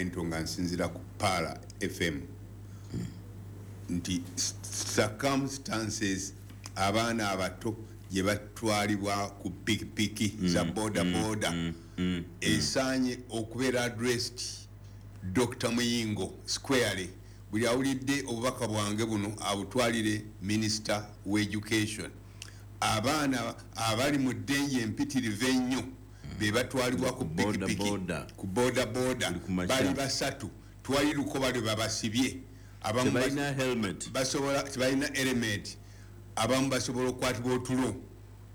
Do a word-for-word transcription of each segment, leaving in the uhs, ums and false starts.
Environmental nga nsinzira ku Paala F M nti circumstances abaana abato gye batwalibwa ku pikipiki za boda boda esaanye okubeera addressed Doctor Muyingo squarely. Buli awulidde obubaka bwange buno abutwalire Minister w'Education. Abaana abali mu danger empitirivu ennyo be batwalibwa ku Boda pikipiki, boda. ku boda boda. Buli ku makya. Bali basatu, twali lukoba lwe babasibye. Abamu bas- Tebalina helmet. Basobola, tebalina helmet. Abamu basobola okukwatibwa otulo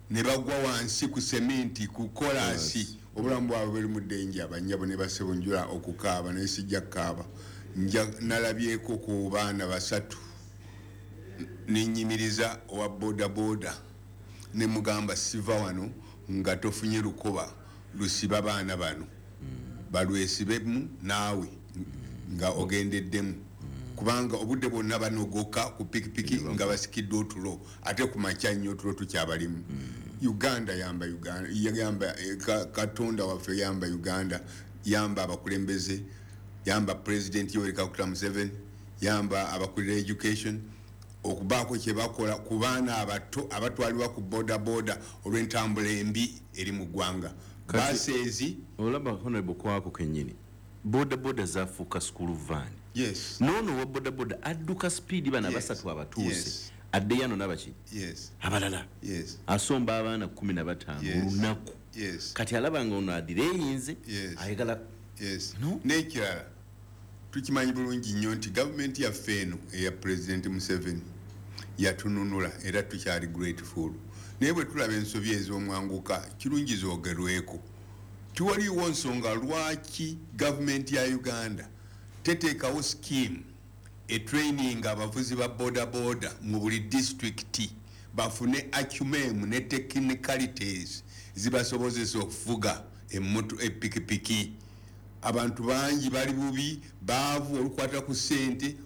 ne bagwa wansi ku seminti, ku kolasi. Obulamu bwabwe buli mu danger. Abanyabo ne basebo, njula okukaaba naye sijja kukaaba. Nja nalabyeko ku baana basatu, nenyimiriza owa boda boda ne mugamba, "Siva wano nga tofunye lukoba lusiba baana bano, balwesibemu naawe nga ogendeddemu, kubanga obudde bwonna banogoka ku pikipiki nga basikiddwa otulo, ate ku makya nnyo otulo tukyabalimu." Uganda yamba, Uganda yamba, eh, Ka- katonda waffe yamba Uganda, yamba abakulembeze, yamba President Yoweri Kaguta Museveni, yamba abakulira education okubaako kyebakola ku baana abato abatwalibwa ku boda boda olw'entambula embi eri mu ggwanga. Kati- Baseezi. Olaba, Honorable, kwako kennyini boda boda zafuuka school van. Yes. Noono owa boda boda adduka speed, bana Yes. basatu abatuuse, Yes. addeyo ano nabaki yes abalala, yes asomba abaana kumi na bataano Yes. olunaku. Yes kati alaba nga ono adireyinze, Yes. ayagala yes No? N'ekirala, tukimanyi bulungi nnyo nti gavumenti yaffe eno eya President Museveni yatununula era tukyali grateful, naye bwe tulaba ensobi ez'omwanguka, kirungi zoogerweko. Tiwaliwo nsonga lwaki gavumenti ya Uganda teteekawo scheme etraining abavuzi ba boda boda mu buli disitulikiti, bafune acumen ne technicalities zibasobozesa okuvuga emmoto, epikipiki. Abantu bangi bali bubi, baavu, olukwata ku ssente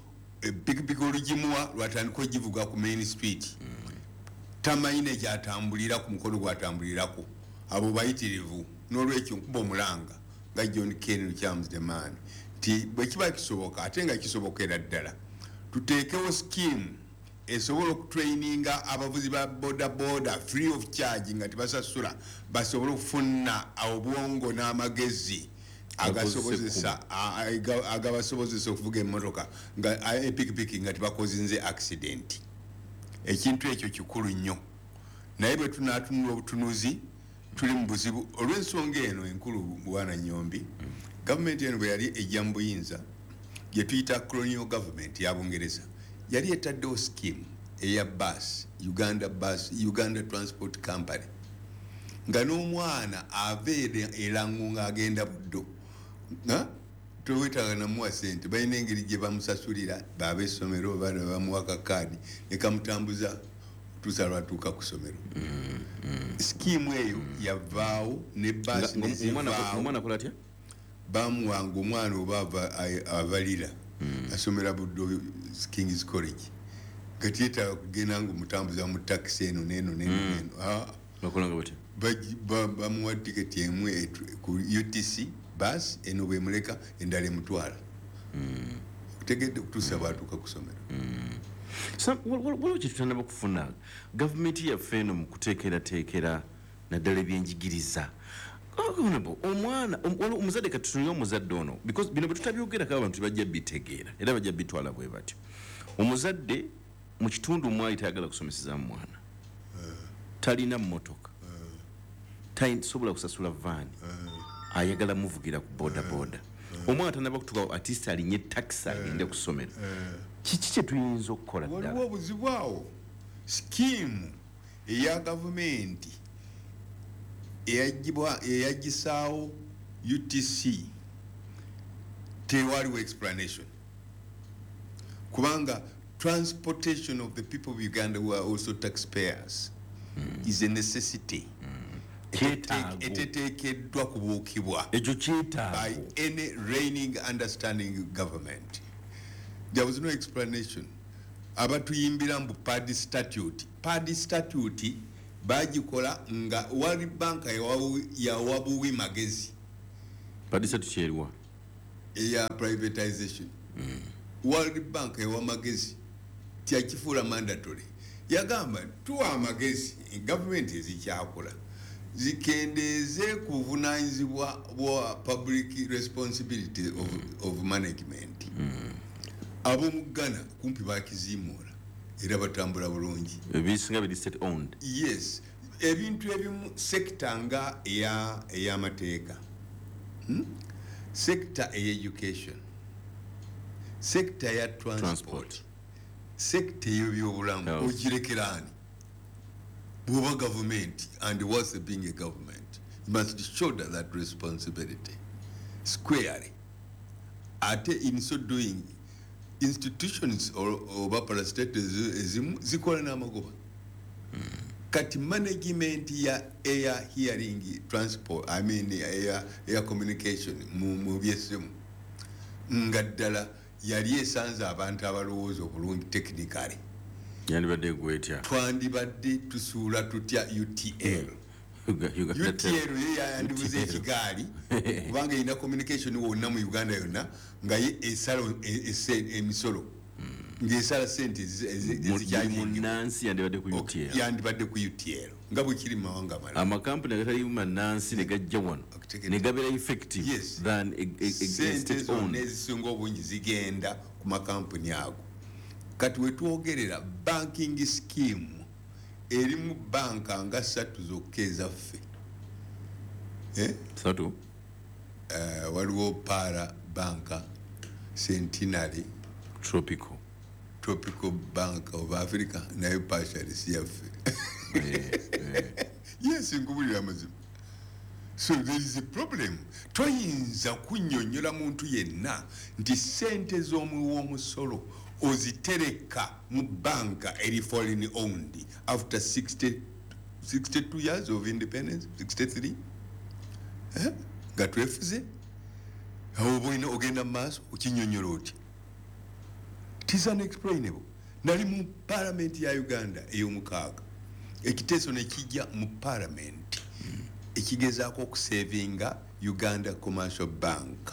epikipiki olugimuwa lwatandika ogivuga ku main street, tamanyi nekyatambulira ku mukono gwatambulirako. Abo bayitirivu. N'olwekyo nkuba omulanga nga John Ken Lukyamuzi the man nti bwe kiba kisoboka, ate nga kisobokera ddala, tuteekewo scheme esobola okutraininga abavuzi ba boda boda free of charge, nga tebasasula, basobole okufuna obwongo n'amagezi agasobozesa a- agabasobozesa okuvuga emmotoka nga a- epikipiki nga tebakozinze accident. Ekintu ekyo kikulu nnyo, naye bwe tunatunula obutunuzi tuli mu buzibu olw'ensonga eno enkulu. Bwana Nyombi, gavumenti eno bwe yali ejja mu buyinza, gye tuyita colonial government ya Bungereza, yali etaddewo scheme eya bus, Uganda Bus, Uganda Transport Company, nga n'omwana ava Erango ng'agenda Buddo towetaaga namuwa sente. Balina engeri gye bamusasulira baaba essomero, baana bamuwa kakaadi nekamutambuza tuusa lwatuuka ku ssomero. mm, mm. Scheme eyo yavaawo ne baasi nezivaawo. Bamuwanga omwana oba avalira mm. asomera Buddo Kings College, nga tiyetaaga kugenda nga omutambuza mu takisi eno neno neno neno. Ah. Bamuwa tiketi emu ku U T C bus eno, bwemuleka endala emutwala, otegedde, okutuusa bwatuuka ku ssomero. Waliwo kyetutanaba kufuna gavumenti yaffe eno mu kuteekerateekera naddala ebyenjigiriza. Omwana, omuzadde, katutunire omuzadde ono, because bino bwe tutabyogerako abantu tebajja bitegeera era bajja bitwala bwe batyo. Omuzadde mu kitundu mwali tayagala kusomesezamu mwana, talina mmotoka, tasobola kusasula vaani, ayagala muvugira ku boda boda. Omwana tanaba kutuka, at least alinye takisi agende ku ssomero. Kiki kyetuyinza okukola? Waliwo obuzibu awo. Scheme eya gavumenti eyagisaawo U T C tewaliwo explanation, kubanga transportation of the people of Uganda who are also taxpayers mm. is a necessity mm. eteteekeddwa kubuukibwa ekyo by any reigning understanding government. There was no explanation. Abatuyimbira mbu PAD statute, PAD statute bagikola nga World Bank yawabuwi magezi. PAD statute eriwa? Eya privatization, World Bank ewa magezi, tyakifuula mandatory. Yagamba tuwa amagezi gavumenti ezikyakola zikendeeze ku buvunanyizibwa bwa public responsibility of, of management. Ab'omu Ghana kumpi bakiziimuula era batambula bulungi. Ebisinga biri state owned. Yes, ebintu ebimu, sector nga eya ey'amateeka, hmm? Sector eya education, sector ya transport, Transport. Sector ey'ebyobulamu, Health. Ogirekeraani bw'oba government? And what's being a government, you must shoulder that responsibility squarely. Ate in so doing, institutions or- oba parastatals ezimu zikola n'amagoba. Kati management ya air, hearing, transport, I mean air, air communication mu, mu byessimu, nga ddala yali esanze abantu abalowooza obulungi technically, yandibadde egwetya? Twandibadde tusuula tutya U T L? Uga- Uganda. U T L ye yayandibuza ekigaali, kubanga erina communication wonna mu Uganda yonna, nga ye esala e- ese- emisolo, ng'esala sente ezi- ezi- Mu- buli ezikyagingibwa. Munnansi yandibadde ku U T L. Yandibadde ku U T L nga bwe kiri mu mawanga amalala. Amakampuni agatali mannansi ne gajja wano Okutegedde. ne gabeera effective Yes. than a, a, a, a Sente state zonna owned. ezisinga obungi zigenda ku makampuni ago. Kati wetwogerera, banking scheme erimu banka nga ssatu zokka ezaffe. Eh? Satu. Eh, waliwo Para Banka, Centenary, Tropical. Tropical Bank of Africa, nayo partially si yaffe. Eh, eh. Yes, nkubulira amazima. So there is a problem. Toyinza kunnyonnyola muntu yenna nti sente z'omuwi w'omusolo ozitereka mu banka eri foreign owned after sixty, sixty-two years of independence, sixty-three, eh? Nga twefuze. Awo oba olina ogenda mu maaso okinnyonnyola otya? It is unexplainable. Nali mu palamenti ya Uganda ey'omukaaga, ekiteeso ne kijja mu palamenti ekigezaako okusavinga Uganda Commercial Bank.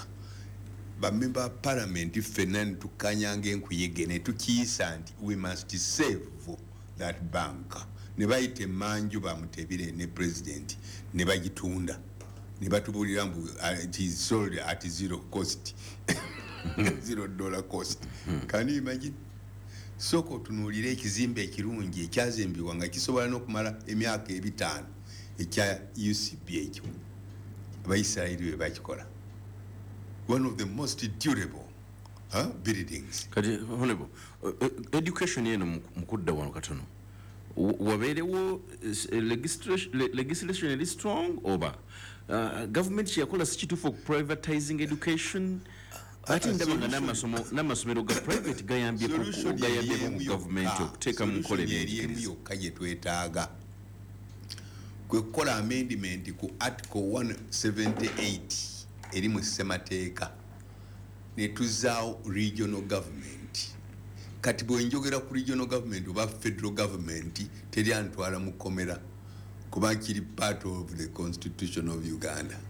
Bamemba ba palamenti ffenna ne tukkanyanga enkuyege ne tukiyisa nti we must save that bank. Ne bayita emanju bamutebire ne president ne bagitunda, ne batubuulira mbu uh, it is sold at zero cost, zero dollar cost. Can you imagine? Sooka otunuulire ekizimbe ekirungi ekyazimbibwa nga kisobola n'okumala emyaka ebitaano, ekya U C B. Ekyo Abaisirairi bwe bakikola, one of the most durable, huh, buildings. Kati honorable, uh, uh, education eno mu mu kudda wano katono, Wa- wabeerewo eh, legislation le- legislation eri strong, oba uh, government kyeyakola si kituufu okuprivatizing education? Ate ndaba nga n'amasomo- n'amasomero ga private gayambyeko Solution gayambyeko eri ku emu gavumenti yokka. okuteeka mu nkola Solution eri emu ebyenjigiriza. yokka gye twetaaga kwe kukola amendment ku article one seventy-eight eri mu ssemateeka, ne tuzaawo regional government. Kati bwe njogera ku regional government oba federal government, teri antwala mu kkomera, kuba kiri part of the constitution of Uganda.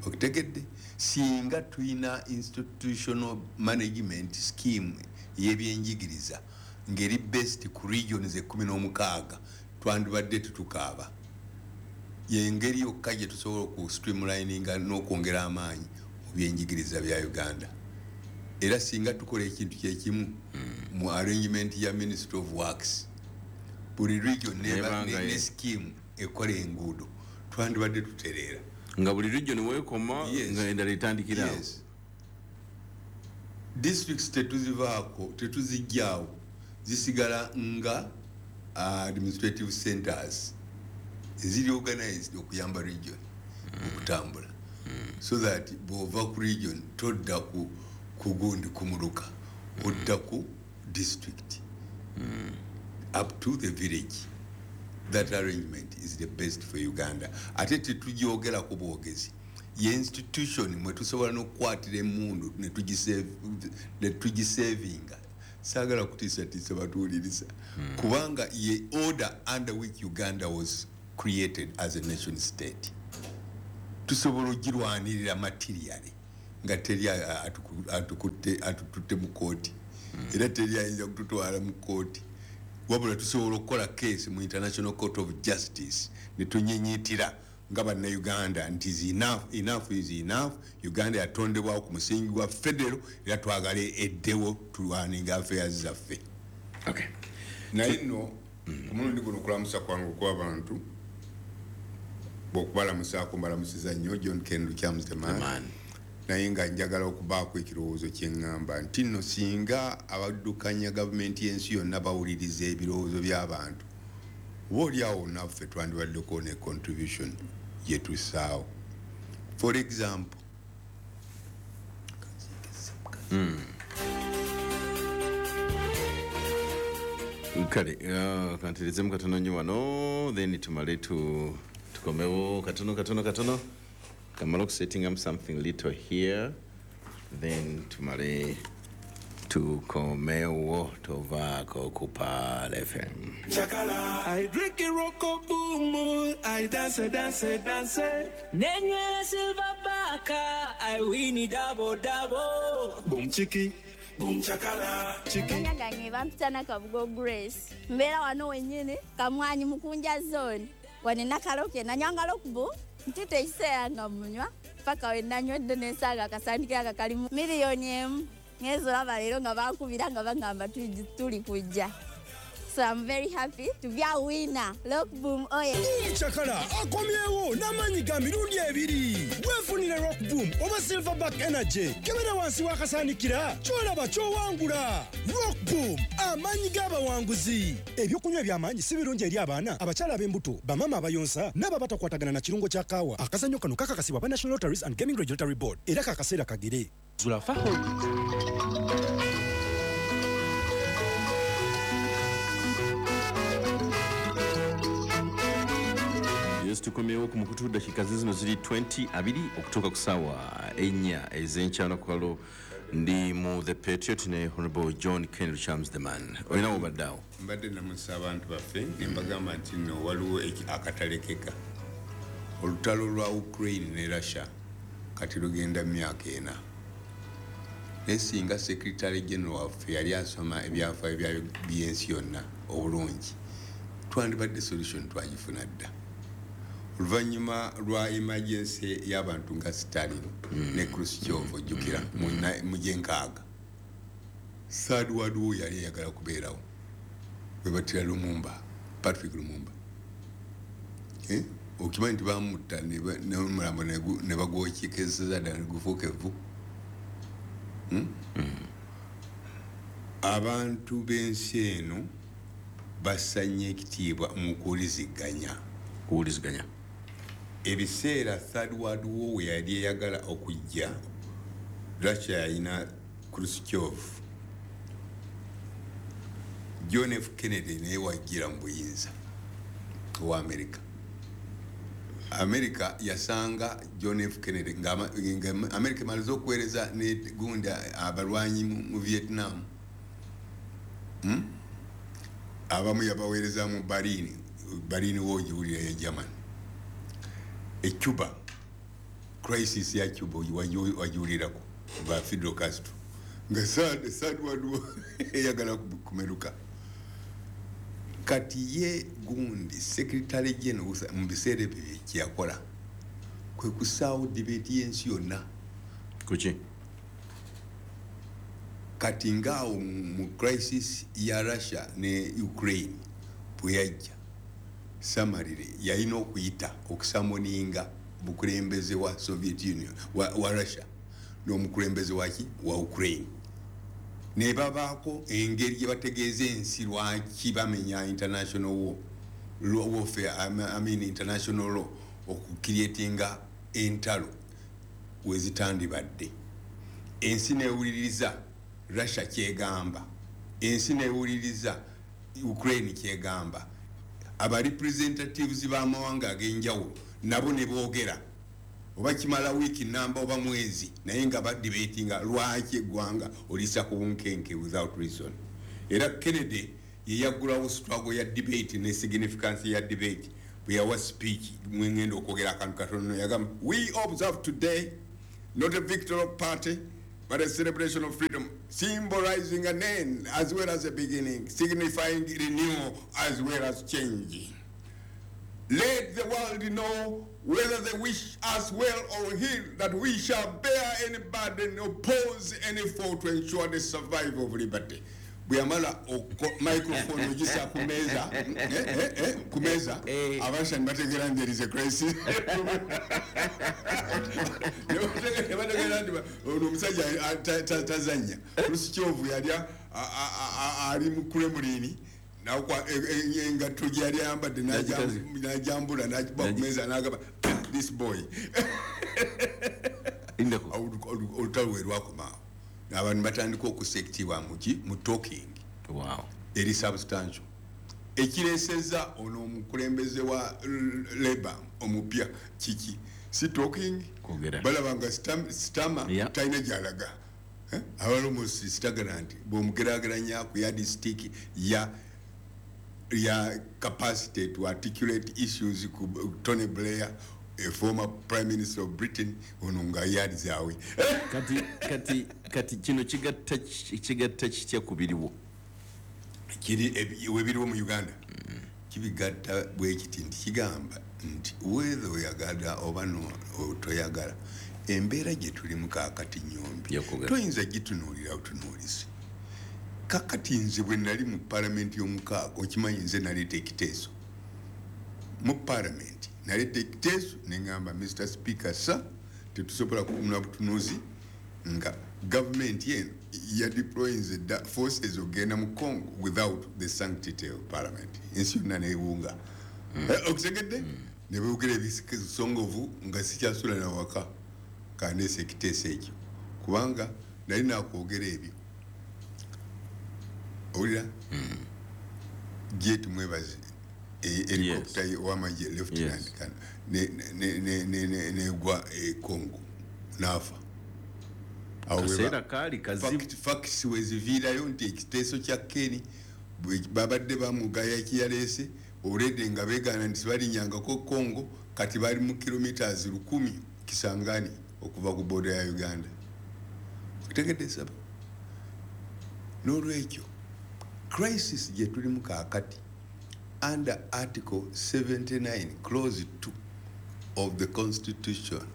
Okutegedde? Singa tulina institutional management scheme y'ebyenjigiriza ng'eri based ku regions ekumi n'omukaaga, twandibadde tetukaaba. Yengeri yokka gye tusobola oku streamlininga n'okwongera amaanyi mu byenjigiriza bya Uganda. Era singa tukola ekintu kyekimu mu arrangement ya Ministry of Works, buli region neba- Nebanga ne, ne ye. scheme ekola enguudo, twandibadde tutereera. Nga buli region weekoma, Yes. nga endala etandikirawo. Yes. Districts tetuzivaako, tetuzijjaawo, zisigala nga uh, administrative centers eziri organized okuyamba region okutambula, so that bw'ova ku region todda ku ku gundi, ku muluka, odda ku district up to the village. That arrangement is the best for Uganda. Ate tetugyogerako bwogezi, ye institution mwe tusobola n'okukwatira emundu ne tugisavinga. Saagala kutiisatiisa batuwuliriza, kubanga ye order under which Uganda was created as a nation state. Tusobola ogirwanirira materially Nga teri atukutte atututte mu kooti, era teri ayinza kututwala mu kooti. Wabula tusobola okukola case mu International Court of Justice ne tunyinyitira nga bannayuganda nti is enough, enough is enough. Uganda yatondebwawo ku musingi gwa federal, era twagale eddewo tulwaninga affairs zaffe. Okay. Naye nno ku mulundi guno okulamusa kwange okw'abantu bw'okubalamusaako mbalamusiza nnyo John Ken Lukyamuzi the man. Naye nga njagala okubaako ekirowoozo kye ŋŋamba nti nno singa abaddukanya gavumenti y'ensi yonna bawuliriza ebirowoozo by'abantu, oba oli awo naffe twandibaddeko ne contribution gye tussaawo. For example, kale uh, kanterezemu katono nnyo wano, then tumale tu tukomewo katono katono katono kamala okusetting up something little here, then tumale tukomewo tovaako ku Pearl F M. Chakala. I drink a rocko boom, I dance, dance, dance. Nenywera silver baka, I win double double. Boom chiki, boom chakala, chiki. Amanya gange bampita Nakabugo Grace. Mbeera wano wennyini Kamwanyi Mukunja zone. Wane nakaloke nanywanga lokubu ntute ekiseera nga munywa paka we nanywedde n'ensaaga akasandikira aka kalimu miliyoni emu. Ngenze olaba leero nga bankubira nga bagamba tuli kujja. So I'm very happy to be a winner. Look, boom, oh yeah. Boom Chakala akomyewo n'amaanyi ga mirundi ebiri. Weefunire Rock Boom oba Silverback Energy. Kebera wansi w'akasaanikira ky'olaba ky'owangula. Rock Boom, amaanyi g'abawanguzi. Ebyokunywa eby'amaanyi si birungi eri abaana, abakyala ab'embuto, bamaama abayonsa n'abo abatakwatagana na kirungo kya kaawa. Akazannyo kano kakakasibwa aba National Lotteries and Gaming Regulatory Board era kakaseera kagere. Zulafa. Tukomyewo ku mukutu dakika zino ziri twenty abiri okutuuka ku ssaawa ennya ez'enkyano ku ndi mu The Patriot ne Honorable John Ken Lukyamuzi the man. Olina w'obadde awo? Mbadde namusa abantu baffe ne mbagamba nti nno waliwo akatalekeka. Olutalo lwa Ukraine ne Russia kati lugenda myaka ena. Naye singa Secretary General waffe yali asoma ebyafaayo by'ensi yonna obulungi, twandibadde solution twagifuna dda. Oluvannyuma lwa emergency y'abantu nga Stalin mm. ne Khrushchev ojjukira mm. mu gy'enkaaga, Third World War yali eyagala kubeerawo bwe battira Lumumba, Patrick Lumumba. Eh? Okimanyi nti bamutta n'omulambo ne bagwokyekeza ddala ne gufuuka evvu. Hmm? Mm. Abantu b'ensi eno bassanye ekitiibwa mu kuwuliziganya. Kuwuliziganya. Ebiseera Third World War we yali eyagala okujja, Russia yalina Khrushchev, John F Kennedy naye wajjira mu buyinza owa America. America yasanga John F Kennedy nga America emaliza okuweereza ne gundi abalwanyi mu Vietnam. Hmm? Abamu yabaweereza mu Berlin, Berlin w'ogiwulira ya Germany. E Cuba, crisis ya Cuba wagiwulirako ba Fidel Castro nga third World War eyagala kumeruka. Kati ye gundi Secretary General mu biseera ebyo kye yakola kwe kusaawo debate y'ensi yonna. Kuki? Kati ngaawo mu crisis ya Russia ne Ukraine bwe yajja, Samarire yalina okuyita okusamoninga omukulembeze wa Soviet Union wa, wa Russia n'omukulembeze waki wa Ukraine, ne babaako engeri gye bategeeza ensi lwaki bamenya international war, law warfare, I mean international law, okucreatinga entalo we zitandibadde. Ensi newuliriza Russia kyegamba, ensi newuliriza Ukraine kyegamba, aba representatives b'amawanga ag'enjawulo nabo ne boogera oba kimala wiiki namba oba mwezi, naye nga badebatinga lwaki eggwanga olisa ku bunkenke without reason. Era Kennedy ye yaggulawo struggle ya debate ne significance ya debate bwe yawa speech mwengenda okwogera akantu katono, yagamba we observe today Not a victory of party, but a celebration of freedom, symbolizing an end as well as a beginning, signifying renewal as well as change. Let the world know, whether they wish us well or ill, that we shall bear any burden, oppose any foe to ensure the survival of liberty. Bwe yamala microphone ogisa ku meeza, eh, eh, eh, ku meeza, Abarussia bategeera nti there is a crisis. Ne bategeera nti ono omusajja tazannya. Khrushchev yali ali mu Kremlin, engatto gye yali ayambadde n'ajambula, n'agikuba ku meeza, n'agamba, "This boy." Olutalo we lwakomaawo, abantu batandika okussa ekitiibwa muki? Mu talking eri substantial. Ekireeseza ono omukulembeze wa Labour omupya kiki? Si talking? Balaba nga Starmer talina gyalaga. Eh? Abali stagnant bwomugerageranya ku yardstick ya ya capacity to articulate issues ku Tony Blair, a former prime minister of Britain, ono nga yardzawe. Kati kati kati kino kigatta kigatta kitya ku biriwo? Kiri webiriwo mu Uganda mm. Kibigatta bwekiti nti kigamba nti whether oyagala oba no toyagala, embeera gye tulimu kaakati nyombi toyinza gitunuulira butunuulizi. Kakati nze bwe nali mu palamenti y'omukaaga, okimanyi nze naleeta ekiteeso mu palamenti, naleeta ekiteeso neŋŋamba, "Mister Speaker sir, tetusobola kutunula butunuzi nga gavumenti eno ya deployinze dda forces ogenda mu Congo without the sanctity of parliament." Ensi yonna newunga mm. eh, okitegedde mm. Ne boogera ebisongovu nga sikyasula nawaka. Kandeesa ekiteeso ekyo kubanga nali nakwogera ebyo. Owulira mm. Jet Mwebaze, helicopter wamagye, lieutenant, negwa e Congo nafa. Kaseera kaali kazibu. Facts weziviirayo nti ekiteeso kya Keni babadde bamugaya kiyaleese already nga beegaana nti balinyangako Congo. Kati bali mu kilometers lukumi Kisangani okuva ku border ya Uganda. Okitegedde saba? N'olwekyo crisis gye tulimu kaakati, under article seventy-nine clause two of the constitution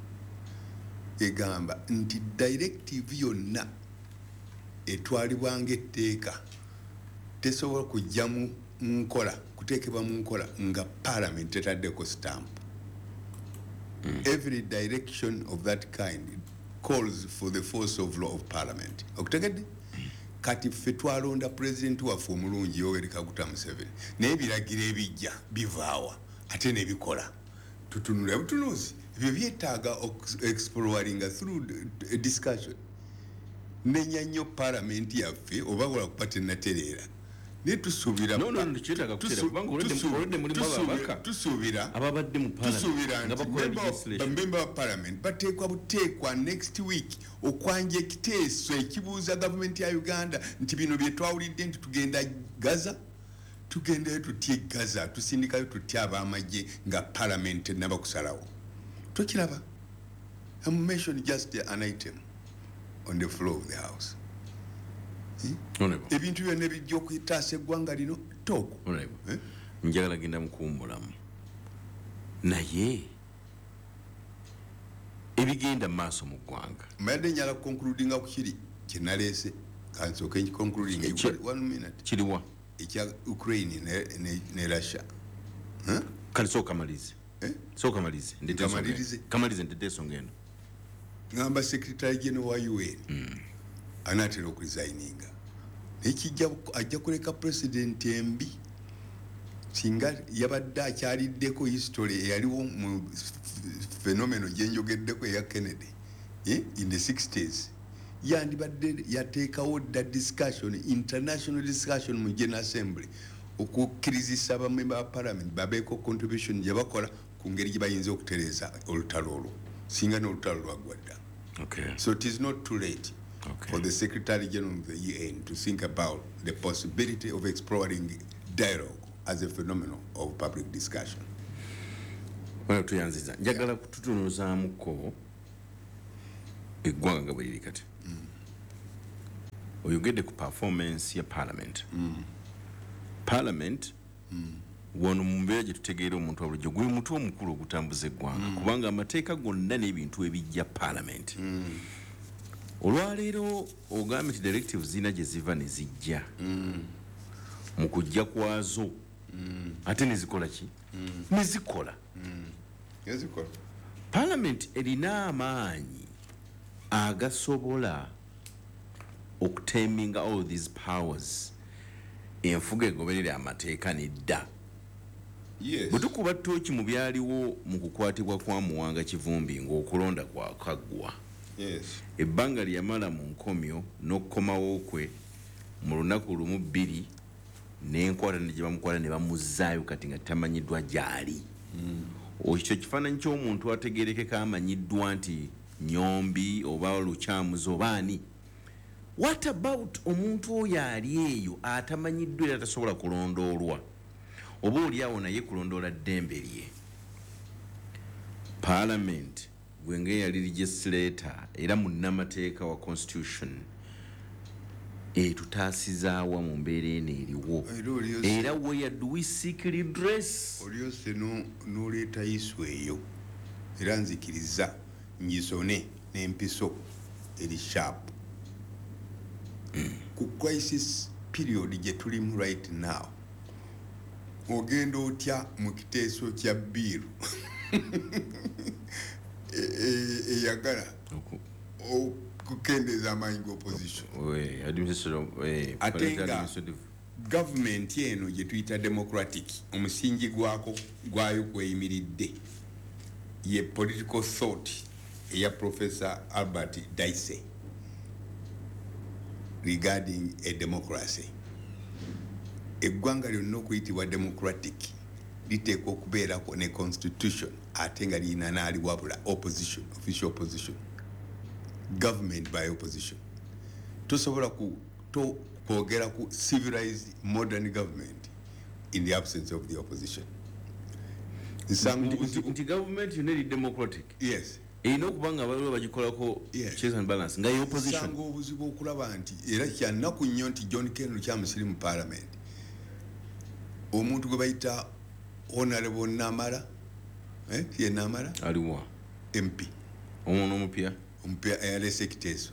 egamba nti directive yonna etwalibwa ng'etteeka tesobola kujja mu nkola, kuteekebwa mu nkola nga parliament etaddeko stamp mm. Every direction of that kind calls for the force of law of parliament. Okutegedde? Kati ffe twalonda pulezidenti waffe omulungi Yoweri Kaguta Museveni, naye ebiragiro ebijja bivaawa ate nebikola? Tutunula butunuzi. Ebyo byetaaga exploringa through discussion. Nenya nnyo palamenti yaffe oba lwakuba tenatereera, naye tusuubira No, no, no, kyetaaga kutereera, kubanga already- already mulimu ababaka tusuubira ababadde mu parliament tusuubira nga nti bakola legislation. bamemba ba parliament bateekwa buteekwa next week okwanja ekiteeso ekibuuza gavumenti ya Uganda nti bino bye twawulidde nti tugenda Gaza, tugendayo tutya e Gaza, tusindikayo tutya ab'amagye nga parliament tenaba kusalawo? Tokiraba? I'm mention just an item on the floor of the house. Honorable, Ebintu byonna ebijja okutaasa eggwanga lino tooko. Honorable, Eh? njagala genda mukuwummulamu, naye ebigenda mu maaso mu ggwanga. Mbadde njala concludinga ku kiri kyenaleese, kansooke nkiconcludinga. Ekye- One minute. Kiriwa? Ekya Ukraine ne, ne, ne Russia. Huh? Kale sooka malirize. Eh? Sooka malirize, ndete ensonga eno. Nkamalirize. Kamalirize, ndete ensonga eno. Ngamba secretary general wa U N anaatera okuresigninga, naye kijja ajja kuleka president embi. Singa yabadde akyaliddeko history eyaliwo mu phenomenon gyenjogeddeko eya Kennedy, eh, in the sixties, yandibadde yateekawo dda discussion, international discussion mu General Assembly okukkirizisa abamemba ba parliament babeeko contribution gye bakola ku ngeri gye bayinza okutereeza olutalo olwo, singa n'olutalo lwaggwa dda. Okay. So it is not too late Okay. for the Secretary General of the U N to think about the possibility of exploring dialogue as a phenomenon of public discussion. Wano tuyanziza, njagala kututunuzaamuko. Eggwanga nga bwe liri kati, oyogedde ku performance ya parliament. Parliament wano mu mbeera gye tutegeera omuntu wa bulijjo, gwe mutwe omukulu ogutambuza eggwanga, kubanga amateeka gonna n'ebintu ebijja parliament. Olwaleero ogambye nti directives zirina gye ziva ne zijja, mu kujja kwazo ate ne zikola ki? Ne zikola. Nezikola. Parliament erina amaanyi agasobola okuteminga all these powers, enfuga egoberera amateeka nedda? Yes. Bwe tukuba ttooki mu byaliwo mu kukwatibwa kwa Muwanga Kivumbi ng'okulonda kwakaggwa, Yes. ebbanga lye yamala mu nkomyo n'okukomawo kwe mu lunaku lumu bbiri n'enkwata ne gye bamukwata ne bamuzzaayo, kati nga tamanyiddwa gy'ali. Ekyo kifaananyi ky'omuntu ategerekeka amanyiddwa nti Nyombi oba Lukyamuzi oba ani. What about omuntu oyo ali eyo atamanyiddwa era tasobola kulondoolwa, oba oli awo naye kulondoola ddembe lye? Parliament, gwe ng'eyali legislator era munnamateeka wa constitution, etutaasizaawa mu mbeera eno eriwo? Era olyose- Era where do we seek redress? Olyose no- n'oleeta issue eyo, era nzikiriza ngisone n'empiso eri sharp ku crisis period gye tulimu right now. Ogenda otya mu kiteeso kya bill e- e- eyagala Oku- okukendeeza amaanyi g'opposition, we, administrative- eh, ate parliamentary nga administrative- gavumenti eno gye tuyita democratic, omusingi gwako gwayo kweyimiridde ye political thought eya Professor Albert Dicey regarding a democracy. Eggwanga lyonna okuyitibwa democratic liteekwa okubeerako ne constitution, ate nga lirina n'aliwabula, opposition, official opposition, government by opposition. Tosobola ku- to- kwogera ku civilized modern government in the absence of the opposition. Nsanga Nti- nti obuzibu. Nti gavumenti yonna eri democratic Yes. erina okuba nga baliwo bagikolako Yes. checks and balance nga ye opposition. Nsanga obuzibu okulaba nti era kyannaku nnyo nti John Ken Lukyamuzi mu parliament, omuntu gwe bayita Honorable Namara, eh, ye Namara. Aliwa? M P. Omwana omupya? Omupya eyaleese ekiteeso,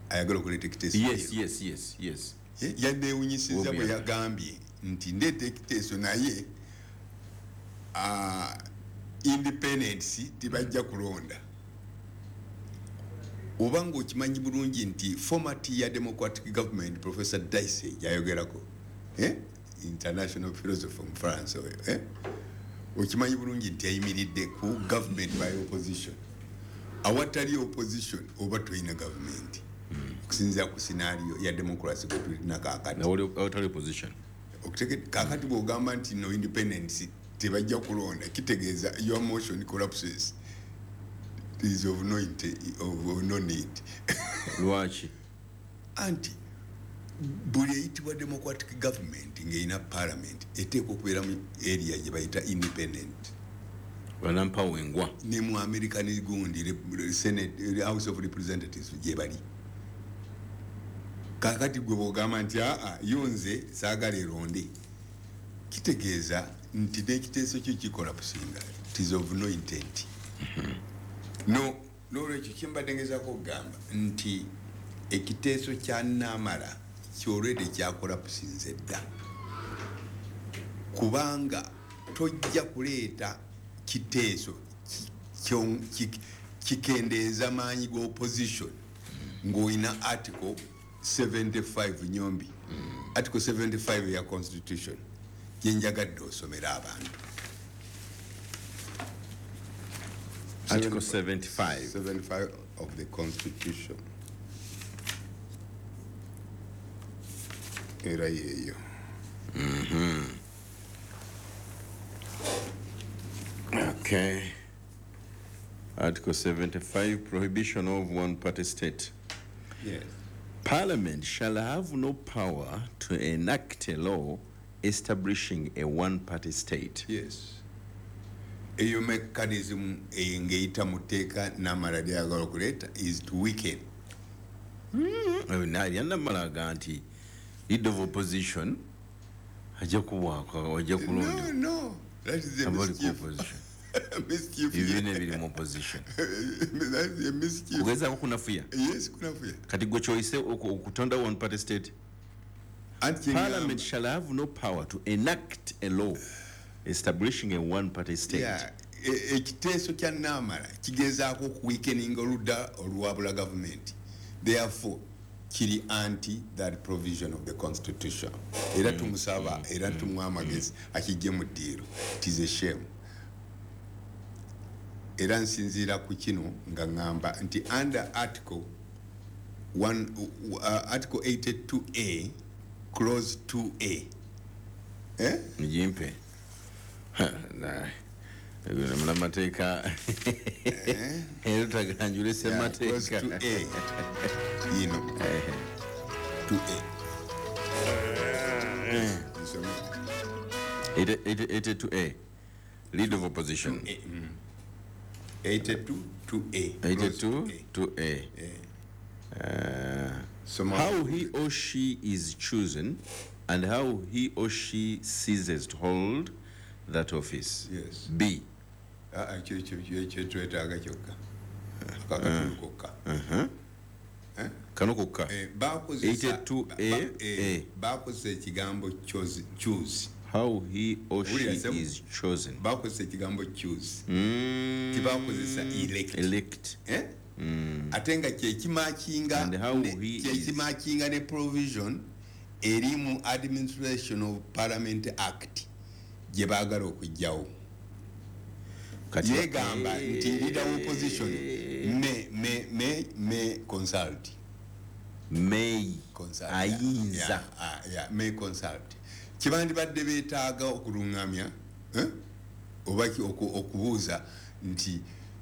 ayagala okuleeta ekiteeso. yes yes yes yes Eh, yanneewunyisiza bwe Obi. yagambye nti ndeeta ekiteeso naye ah, independence tebajja kulonda, oba ngaokimanyi bulungi nti format ya democratic government Professor Dicey gyayogerako, eh? international philosopher mu France oyo, eh? Okimanyi bulungi nti yayimiridde ku government by opposition. Awatali opposition oba tolina government, okusinzira ku scenario ya democracy gwe tulina kaakati. Awatali opposition. Okutege- kaakati bw'ogamba nti no independence tebajja kulonda, kitegeeza your motion collapses, it is of no, inte- of, of no need. Lwaki? Anti buli eyitibwa democratic government ng'erina parliament eteekwa okubeera mu area gye bayita independent. Banampawengwa. Ne mu American gundi rep- Senate, House of Representatives gye bali. Kakati gwe bwogamba nti aa, yo nze saagala eronde, kitegeeza nti n'ekiteeso kyo kikola kusinga, it is of no intent. No, nolwekyo kyembadde ngezaako okugamba nti ekiteeso kya Namala kyolwedde kyakola kusinza edda, kubanga tojja kuleeta kiteeso ki- kyo- ki- kikendeeza maanyi ga opposition ng'olina article seventy-five. Nyombi, article seventy-five ya constitution gyenjagadde osomera abantu. Article seventy-five. seventy-five of the constitution, era yeeyo. Okay, article seventy-five, prohibition of one party state. Yes. Parliament shall have no power to enact a law establishing a one party state. Yes. Eyo mechanism ng'eyita mu tteeka Namara lyayagala okuleeta is to weaken. Mm. Namara aga nti leader of opposition ajja kuwaako, ajja kulonda. No, no. That is a mischief. Mischief. Ebibiina ebiri mu opposition. That is a mischief. Kugezaako kunafuya. Yes, kunafuya. Kati gwe kyoyise okutonda one party state. Parliament shall have no power to enact a law establishing a one-party state. Yeah. Ekiteeso kya Namara kigezaako okuweakeninga oludda oluwabula government. Therefore, kiri anti that provision of the constitution. Era tumusaba, era tumuwa amagezi akijje mu ddiiro. It is a shame. Era nsinziira ku kino nga ŋŋamba nti under article one, uh, article eighty-two A clause two A. Eh? Njimpe. Munamateeka era taganjule ssemateeka. Clause two A. Yino. two A. eighty-two A. Leader of opposition. eighty-two two A. eighty-two two A. Uh, how he or she is chosen and how he or she ceases to hold that office. Yes. B. Kyetwetaaga kyokka. Akatundu kokka. Kano kokka. eighty-two A. A. Bakozesa ekigambo choose. How he or she is chosen. Bakozesa ekigambo choose. Tibakozesa elect. Elect. Eh? Ate nga kyekimakinga kyekimakinga ne provision eri mu Administration of Parliament Act gye baagala okuggyawo. Yegamba nti leader of opposition may may may may consult. May consult. Ayinza. Yeah, yeah, may consult. Kibandibadde beetaaga okulungamya, eh? Oba okubuuza nti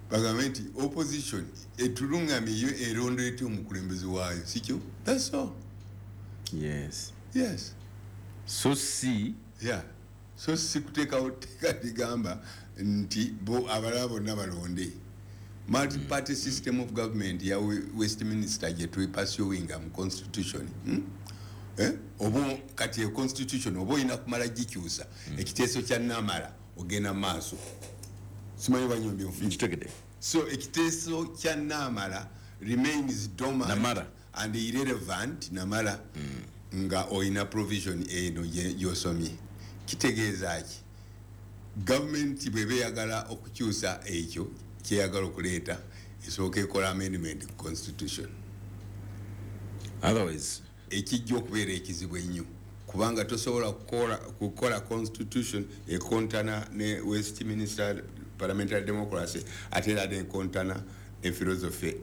bagambe nti opposition etulungamye yo eronda etya omukulembeze waayo, si kyo? That's all. Yes. Yes. So si. Yeah. So si kuteekawo tteeka ligamba nti bo abalala bonna balonde. Multi-party system of government ya Westminster gye tupursuinga mu constitution. Hmm? Eh? Oba kati e constitution oba olina kumala gikyusa. Ekiteeso kya Namara ogenda maaso. Simanyi banyombi nfu. Nkitegedde. So ekiteeso kya Namara remains dormant Namara. and irrelevant Namara mm. nga olina provision eno gy'osomye. Kitegeeza ki? Government bw'eba eyagala okukyusa ekyo kyeyagala okuleeta esooka ekola amendment ku constitution. Otherwise ekijja okubeera ekizibu ennyo kubanga tosobola kukola kukola constitution ekontana ne Westminster parliamentary democracy ate era nekontana ne philosophy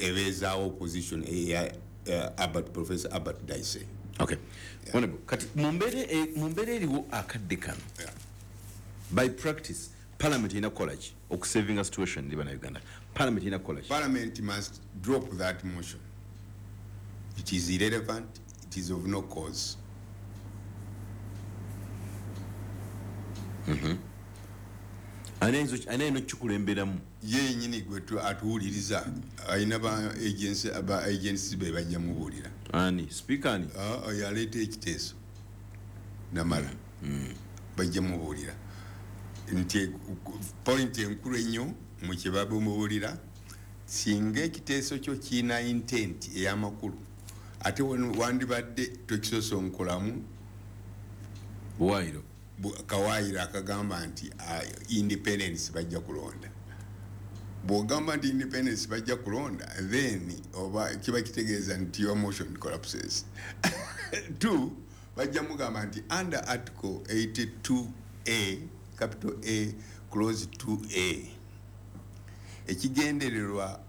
ebeezaawo opposition eya uh, Albert, Professor Albert Daisy. Okay. Yeah. Honorable, kati mu mbeera eriwo akadde kano. Yeah. By practice, Parliament erina kukola ki okusavinga situation eri bannayuganda? Parliament erina kukola ki? Parliament must drop that motion. It is irrelevant, it is of no cause. Mm-hmm. Ani ayina okukikulemberamu? Ye yennyini gwe atuwuliriza alina ba agency aba agency be bajja mubuulira. Ani? Speaker ani? Ah, yaleeta ekiteeso Namara. Bajja mubuulira nti point enkulu ennyo mu kye bamubuulira singa ekiteeso kyo kirina intent ey'amakulu ate wandibadde tokisosonkolamu buwaayiro kawaayiro akagamba nti independence bajja kulonda. Bw'ogamba nti independence bajja kulonda then oba kiba kitegeeza nti your motion collapses. Two, bajja mugamba nti under article eighty-two A capital A clause two A ekigendererwa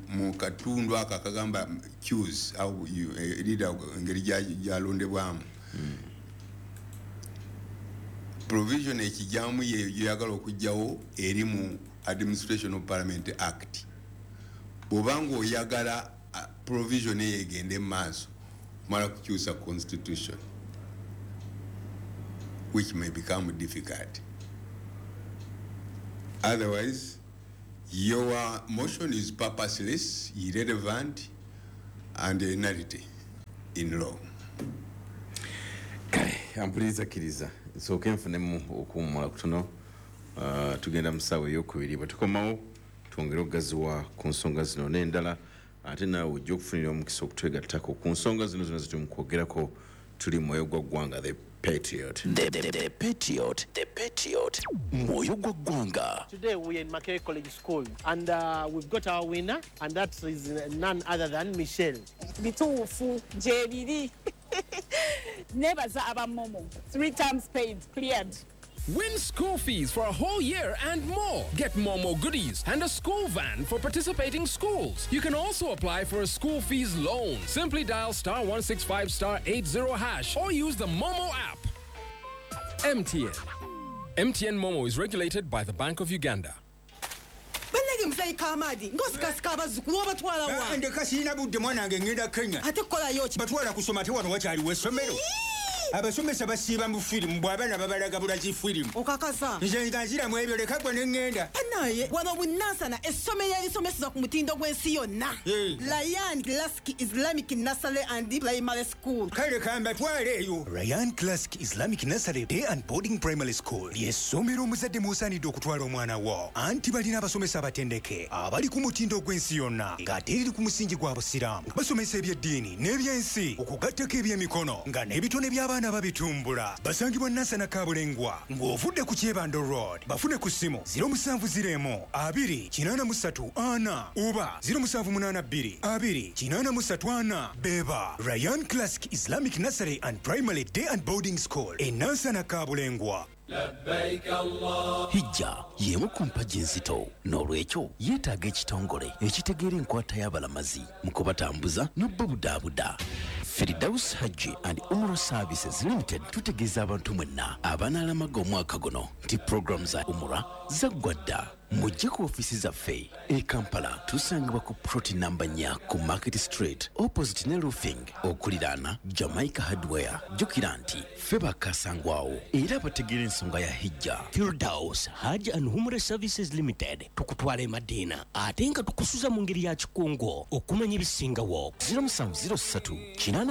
mu katundu ako akagamba choose au leader engeri gyalondebwamu provision ekijjamu yeyagala okuggyawo eri mu Administration of Parliament Act. Bw'obanga oyagala provision eyo egende mu maaso omala kukyusa constitution which may become difficult. Otherwise, your motion is purposeless, irrelevant, and a nullity in law. Kale, ampuliriza, kkiriza nsooke nfunemu okuwummula kutono. uh, tugenda mu ssaawa eyokubiri, bwe tukomawo twongere okugaziwa ku nsonga zino n'endala, ate naawe ojja okufunira omukisa okutwegattako ku nsonga zino zonna zetuli mu kwogerako. Tuli Mwoyo gwa Ggwanga, The Patriot. The, the, the Patriot, The Patriot, Mwoyo gwa Ggwanga. Today we are in Makerere College School and uh, we've got our winner, and that is none other than Michelle. Bituufu gyebiri. Nebaza aba MoMo. Three times paid, cleared. Win school fees for a whole year and more. Get MoMo goodies and a school van for participating schools. You can also apply for a school fees loan. Simply dial star one six five star eighty hash or use the MoMo app. M T N. M T N MoMo is regulated by the Bank of Uganda. Bannange, muzeeyi Kamaadi, ng'osikasika abazzukulu, obatwala wa? Ndeka, sirina budde, mwana wange, ngenda Kenya. Ate kukolayo ki? Batwala kusoma, ate wano wakyaliwo essomero? Abasomesa basiiba mu firimu, bw'abaana babalaga bulazi firimu. Okakasa? Nze nga nziramu ebyo, leka gwe ne ŋŋenda. Naye wano bunansana, essomero erisomeseza ku mutindo gw'ensi yonna, Ryan Classic Islamic Nursery and Primary School. Kale kambatwale eyo. Ryan Classic Islamic Nursery Day and Boarding Primary School ly'essomero omuzadde mw'osaanidde okutwala omwana wo, anti balina abasomesa abatendeke abali ku mutindo gw'ensi yonna, ng'ate eriri ku musingi gwa Busiraamu. Basomesa ebyeddiini n'ebyensi, okugattako ebyemikono, nga n'ebitone by'abaana babitumbula. Basangibwa Nansana Kabulengwa ng'ovudde ku Kyebando Road. Bafune ku ssimu zero seven zero abiri eight three ana oba zero seven eight two abiri eight three ana. Beba Ryan Classic Islamic Nursery and Primary Day and Boarding School e Nansana Kabulengwa. Hijja y'emu ku mpagi enzito, n'olwekyo yeetaaga ekitongole ekitegeera enkwata y'abalamazi mu kubatambuza n'obubudaabuda. Firdaus Hajji and Umrah Services Limited tutegeeza abantu mwenna abanaalamaga omwaka guno nti puroguramu za Umrah zaggwa dda. Mujje ku ofiisi zaffe e Kampala, tusangibwa ku plot namba nnya ku Market Street, opposite ne Roofing, okuliraana Jamaica Hardware. Jjukira nti ffe bakasangwawo era bategeera ensonga ya hijja. Firdaus Hajj and Umrah Services Limited, tukutwala e Madina ate nga tukusuza mu ngeri ya kikungo. Okumanya ebisingawo, zero seven zero three eight nine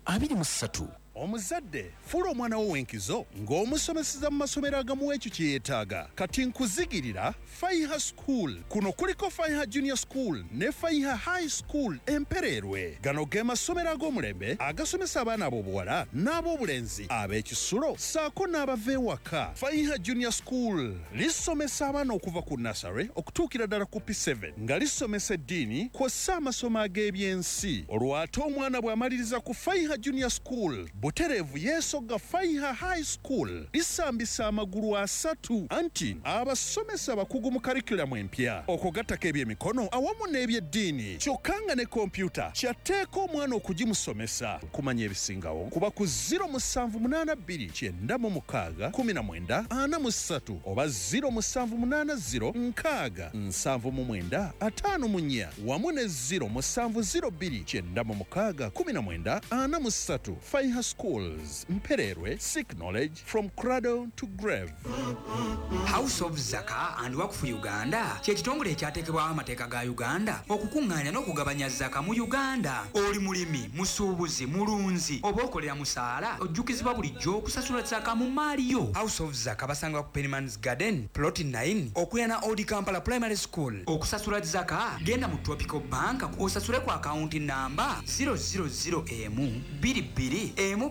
eight two three. Omuzadde, fuula omwana wo w'enkizo ng'omusomeseza mu masomero agamuwa ekyo kye yeetaaga. Kati nkuzigirira Faiha School. Kuno kuliko Faiha Junior School ne Faiha High School Empereerwe. Gano ge masomero ag'omulembe agasomesa abaana ab'obuwala n'ab'obulenzi ab'ekisulo ssaako n'abava ewaka. Faiha Junior School lisomesa abaana okuva ku nursery okutuukira ddala ku P seven, nga lisomesa eddiini kw'ossa amasomo ag'ebyensi. Olwo ate omwana bw'amaliriza ku Faiha Junior School, butereevu yeesogga Faiha High School. Lisambisa amagulu asatu, anti abasomesa abakugu mu curriculum empya, okugattako ebyemikono awamu n'ebyeddiini, kyokka nga ne kompyuta kyatteeka omwana okugimusomesa. Kumanya ebisingawo kuba ku zero seven eight two nine six nineteen forty-three oba zero seven eight zero six seven nine five four wamu ne zero seven zero two nine six nineteen forty-three. Faiha Schools, Mpererwe, seek knowledge from cradle to grave. House of Zaka and Wakfu Uganda kye kitongole ekyateekebwawo amateeka ga Uganda okukuŋŋaanya n'okugabanya zaka mu Uganda. Oli mulimi, musuubuzi, mulunzi oba okolera musaala, ojjukizibwa bulijjo okusasula zaka mu maali yo. House of Zaka basangibwa ku Penmans Garden, plot nine, okuliraana Old Kampala Primary School. Okusasula zaka, genda mu Tropical Bank osasule ku akawunti namba zero zero zero M two two M two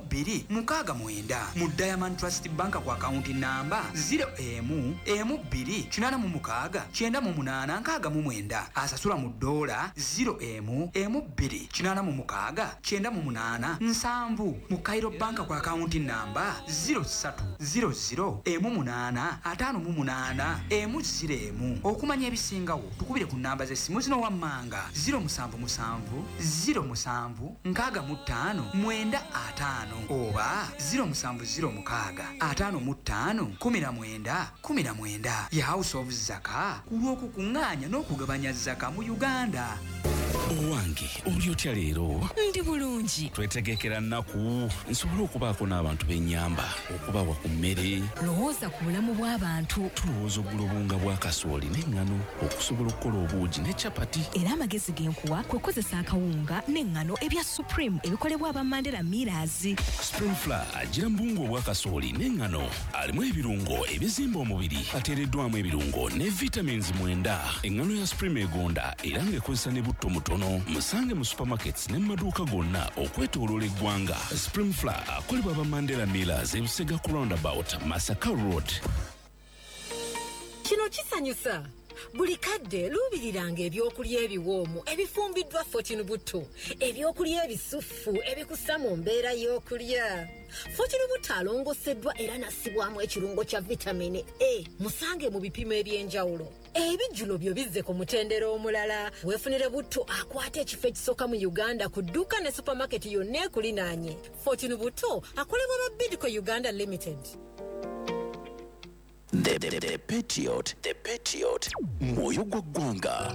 mukaaga mwenda, mu Diamond Trust Bank ku akawunti namba zero M M two kinaana mu mukaaga kyenda mu munaana nkaaga mu mwenda. Asasula mu ddoola, zero M M two kinaana mu mukaaga kyenda mu munaana nsanvu, mu Cairo Bank ku akawunti namba zero three zero zero M munaana ataano mu munaana M zero M. Okumanya ebisingawo, tukubire ku namba z'essimu zino wammanga: zero seven seven zero seven six five nine five oba zero seven zero six five five nineteen nineteen. Ye House of Zaka ku lw'okukuŋŋaanya n'okugabanya zaka mu Uganda. Owange, oli otya leero? Ndi bulungi. Twetegekera nnaku nsobole okubaako n'abantu b'ennyamba, okubawa ku mmere. Lowooza ku bulamu bw'abantu. Tulowooza ogula obuwunga bwa kasooli n'eŋŋano okusobola okukola obuugi ne capati. Era amagezi ge nkuwa kwe kukozesa akawunga n'eŋŋano ebya Supreme ebikolebwa aba Mandela Millers. Supreme Flour agira mu buwunga obwa kasooli n'eŋŋano, alimu ebirungo ebizimba omubiri, ateereddwamu ebirungo ne vitamins mwenda. Eŋŋano ya Supreme egonda era ng'ekozesa ne butto mutono. Musange mu supermarkets ne mu maduuka gonna okwetooloola eggwanga. Supreme Flour akolebwa aba Mandela Millers, Ebusega ku roundabout, Masaka Road. Kino kisanyusa. Buli kadde luubiriranga ebyokulya ebiwoomu ebifumbiddwa Fortune Butto, ebyokulya ebisuffu ebikussa mu mbeera y'okulya. Fortune Butto alongoseddwa era n'assibwamu ekirungo kya vitamini A. Musange mu bipimo eby'enjawulo. Ebijjulo byo bizze ku mutendera omulala. Weefunire butto akwata ekifo ekisooka mu Uganda ku dduuka ne supamaketi yonna ekulinaanye. Fortune Butto akolebwa ba Bidco Uganda Limited. The, the, the Patriot, the Patriot, mwoyo gwa ggwanga.